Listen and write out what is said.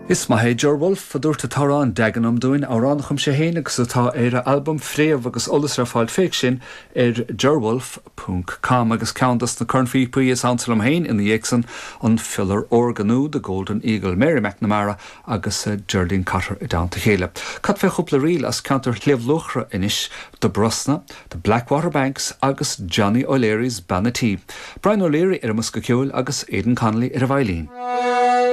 Is maith é Ger Wolfe, a dúirt an t-amhrán Dagenham dúinn, amhrán a chum sé féin agus atá ar a albam Fréamh agus eolas le fáil fé sin ar gerwolfe ponc com agus ceann dos na cornphíopaí is ansa liom féin ina dhiaidh san, an Fiolar Órga nó The Golden Eagle, Mary McNamara agus Geraldine Cotter i dteannta a chéile. Cad fé chúpla ríl as ceantar Shliabh Luachra anois, The Brosna, The Blackwater Banks agus Johnny O'Leary's Bean a' Tí. Brian O'Leary ar an mbosca ceoil agus Aidan Connolly ar an veidhlín.